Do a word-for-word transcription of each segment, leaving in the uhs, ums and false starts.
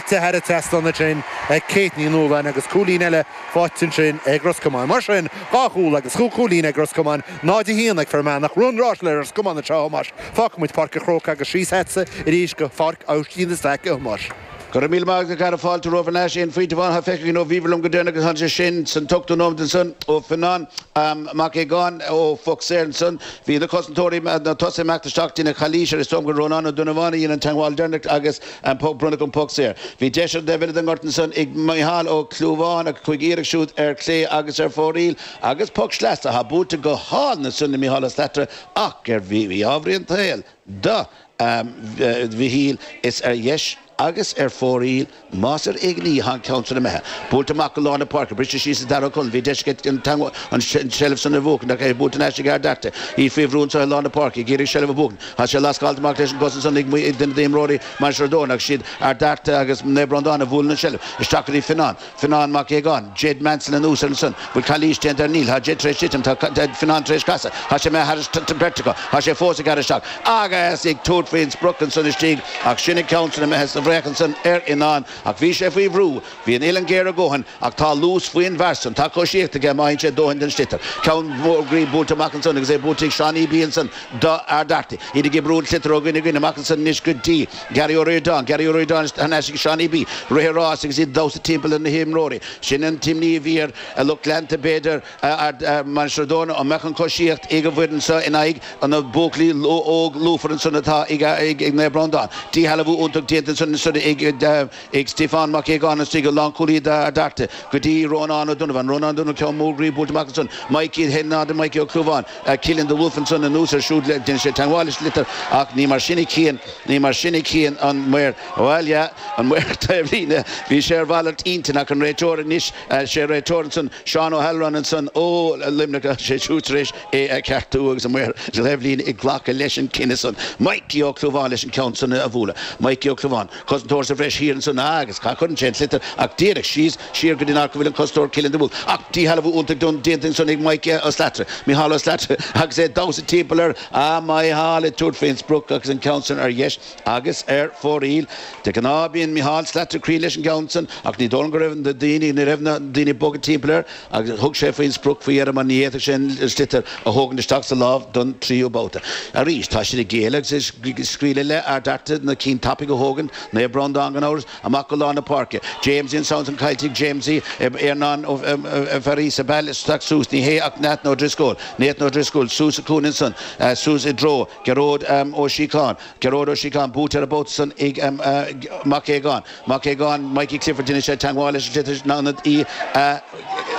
Thar an trasnán ansin ag Kate Ní Nualláin agus cúilín eile faighte ansin ag Ros Comáin. Mar sin, dhá chúl agus chúig chúilín ag Ros Comáin, náid a haon ag Fear Manach. Rún ráis le Ros Comáin anseo, a Thomáis. Fágfaidh muid Páirc an Chrócaigh agus síos agatsa arís go Pháirc Aibhistín de Staic, a Thomáis. Go raibh míle maith agat, a chara. Fáilte romhaibh ar ais. Aon phointe amháin atá feicthe againn ó bhíobhair liom go deireanach agus tháinig sé sin san t-ochtú nóiméad ansan ó Fionán Mac Aogáin ó phoc saor ansan. Bhí na cosantóirí, na tosaithe imeacht isteach déanamh calaois ar is dóigh liom gur Rónán Ó Donnabháin a dhein an teagmháil deireanach agus an poc bronnadh an poc saor. Bhí deis ar an dtaobh eile den ngort ansan ag Micheál Ó Clúmháin ach chuaigh iarracht siúd ar chlé agus ar fóraoil agus poc sleasa atá buailte go hálainn ansan ag Micheál Ó Slatara ach ar mhí-ádh an tsaoil do Mhichíl is ar dheis agus ar fóraoil, más ar éigean í, tá an ceann san imithe. Buailte amach go lár na páirce, briste síos ag Darragh Ó Conaill, bhí deis aige an tseilbh san a bhuachan ach é buailte in aisce ag Ard Fhearta, í faoi bhrú anseo i lár na páirce, ag iarraidh seilbh a bhuachan. Tá sé lascáilte amach leis an gcos ansan ag duine d'imreoirí Mhainistir Ó Dtorna ach siad Ard Fhearta agus Naomh Breandán a bhuaileann an tseilbh. Isteach go dtí Fionnán. Fionnán Mac Aogáin, Jed Mansell anuas air ansan. Bhfuil calaois déanta air? Níl. Tá Jed tar éis titim. Tá Fionnán tar éis casadh. Tá sé imithe thar beirt acu. Tá sé fós ag gearradh isteach agus ag tabhairt faoin sprioc ansan istigh ach sin an ceann san imithe sa bhfraoch ansan ar Fhionnán ach bhí sé faoi bhrú. Bhí an uillinn géar a dhóthain ach tá luas faoin bhfear san. Tá coisíocht aige má fhaigheann sé dóthain den sliotar. Ceann mór groí buailte amach ansan agus é buailte ag Seánie B ansan do Ard Fhearta. Iad ag oibriú an tsliotair ó dhuine go dhuine amach ansan anois go dtí Gary Ó Ríordáin, Gary Ó Ríordáin thar n-ais ag Seánie B. Rith an rás agus iad ag damhsa timpeall ar na himreoirí. Sin an t-imní a bhí ar a lucht leanta b'fhéidir, Mainistir Ó dTorna, an mbeadh an choisíocht ag an bhfoireann seo in aghaidh na buachaillí óg lúfar ansan atá ag Naomh Breandán. Díshealbhú iontach déanta ansan ansan ag Stiofán Mac Aogáin istigh, an lánchúlaí d'Ard Fhearta, go dtí Rónán Ó Donnabháin. Rónán Ó Donnabháin, ceann mór groí buailte amach ansan. Mikey, a haon náid Mikey Ó Clúmháin. Cillian de Wolf ansan anuas air siúd, déanann sé teagmháil leis an sliotar ach ní mar sin a chíonn, ní mar sin a chíonn an maor, bhuel yeah, an maor taobhlíne, bhí sé ar mhalairt intinn ach an réiteoir anois, sé réiteoir ansan, Seán Ó hAlroin ansan ó Luimneach, sé siúd tar éis é a cheartú agus an maor taobhlíne ag glacadh leis an cinneadh san. Mikey Ó Clúmháin leis an ceann san a bhualadh. Mikey Ó Clúmháin. Cosantóir sa bhreis thiar ansan agus cha chuireann sé an sliotar ach díreach síos siar go dtí an áit go bhfuil an cosantóir Cillian de Wolf. Ach díshealbhú iontach déanta ansan ag Mikey Ó Slattery, Micheál Ó Slattery agus é ag damhsa timpeall air. Ah Micheál ag tabhairt faoin sprioc agus an ceann san ar dheis agus ar fóraoil. De ghnáth bíonn Micheál Slattery cruinn leis an gceann san ach ní dóigh liom go raibh na daoine, ní raibh na daoine ag bogadh timpeall air agus thug sé faoin sprioc faoi dheireadh mar ní fhéadfadh sé an sliotar a thógaint isteach sa lámh don tríú babhta. Arís, tá siad ag géilleadh agus ag scaoileadh le Ard Fhearta na cinn tapaidh a thógaint, Naomh Breandán gan amhras, amach go lár na páirce. Jamesie ansan san caillte ag Jamesie, Earnán Ó Fearghusa, bail isteach suas, ní hé ach Nathan Ó Drisceoil, Nathan Ó Drisceoil suas sa chúinne ansan, suas i dtreo Gearóid Ó Síocháin, Gearóid Ó Síocháin buaite ar an mbabhta san ag Mac Aogáin, Mac Aogáin, Mikey Clifford, déanann sé teagmháil leis an sliotar in ionad í a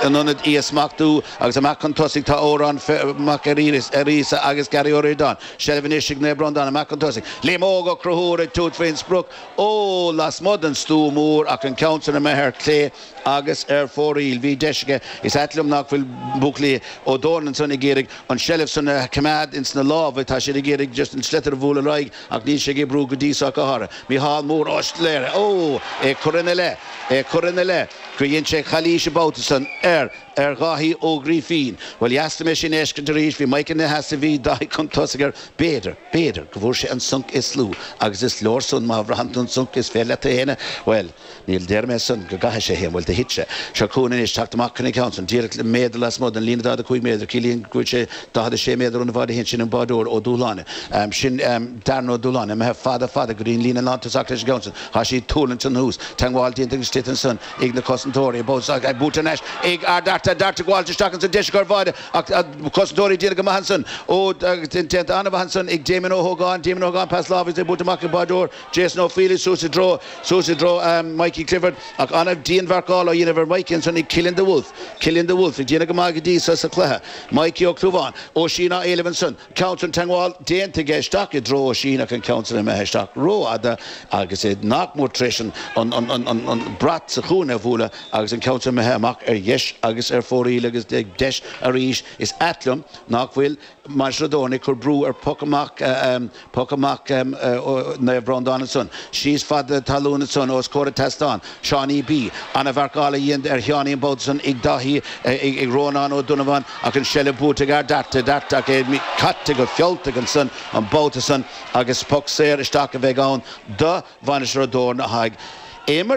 in ionad í a smachtú agus amach chun tosaigh tá Odhrán Mac Fhearghusa agus Gary Ó Ríordáin. Seilbh anois ag Naomh Breandán amach chun tosaigh. Liam Óg Ó Conchúir ag tabhairt faoin sprioc ó lasmuigh den stua mór ach an ceann san imithe ar clé agus ar fóraoil. Bhí deis aige. Is ait liom nach bhfuil buachaillí Ó dTorna ansan ag iarraidh an tseilbh san a choimeád ins na lámha. Tá siad ag iarraidh just an sliotar a bhualadh ar aghaidh ach níl sé ag oibriú go dtí so ach go háirithe. Micheál Mór Ó Sléire, ó! É curtha ina leith! É curtha ina leith gur dhein sé calaois an babhta san ar ar Dháithí Ó Grífín. Bhuel, dheas dom é sin a fheiscint arís. Bhí Mike ina sheasamh, bhí Dáithí chun tosaigh air. B'fhéidir, b'fhéidir go bhfuair sé an sonc is lú agus is leor san má bhraitheann tú an sonc is féidir leat a shéanadh. Bhuel, níl déarfaidh mé san go gcaithfidh sé a shéanadh. Bhuel, do thit sé. Seo chugainn anois, teacht amach chun an ceann san, díreach méadar lasmuigh den líne daichead a cúig méadar, ciallaíonn go bhfuil sé daichead a sé méadar óna bháide féin, sin an bádóir Ó Dúshláine. Sin Darren Ó Dúshláine, imithe fada fada go dtí an líne lántosach leis an gceann san. Tá sí ag tuirlingt anuas. Teagmháil déanta ag an sliotar ansan ag na cosantóirí. Buailte thar n-ais ag Ard Fhearta. Ard Fhearta ag gabháilt isteach ansan. Deis acu ar bháide ach cosantóirí ag déanamh go maith ansan. Ó déanta an-mhaith ansan ag Damien Ó hÓgáin. Damien Ó hÓgáin pas láimhe agus é buailte amach ag bádóir Jason Ó Faoláin suas i dtreo suas i dtreo Mikey Clifford ach an-dianmharcáil á dhéanamh ar Mikey ansan ag Cillian de Wolf. Cillian de Wolf ag déanamh go maith go dtí so sa chluiche. Mikey Ó Clúmháin. Oisín á éileamh ansan. Ceann san teagmháil déanta aige isteach i dtreo Oisín ach an ceann san imithe isteach rófhada agus é nach mór tar éis an brat sa chúinne a bhualadh agus an ceann san imithe amach ar dheis agus ar fóraoil agus deis arís. Is ait liom nach bhfuil Mainistir Ó dTorna ag cur brú ar poc amach poc amach Naomh Breandán ansan. Síos fad talún ansan os comhair an tseastáin. Seánie B. Ana-mharcáil á dhéanamh ar Sheánie an babhta san ag Dáithí, ag Rónán Ó Donnabháin ach an seilbh buaite ag Ard Fhearta, Ard Fhearta ach é caite go fealltach ansan an babhta san agus poc saor isteach a bheidh ann do Mhainistir Ó dTorna a haghaidh Imirt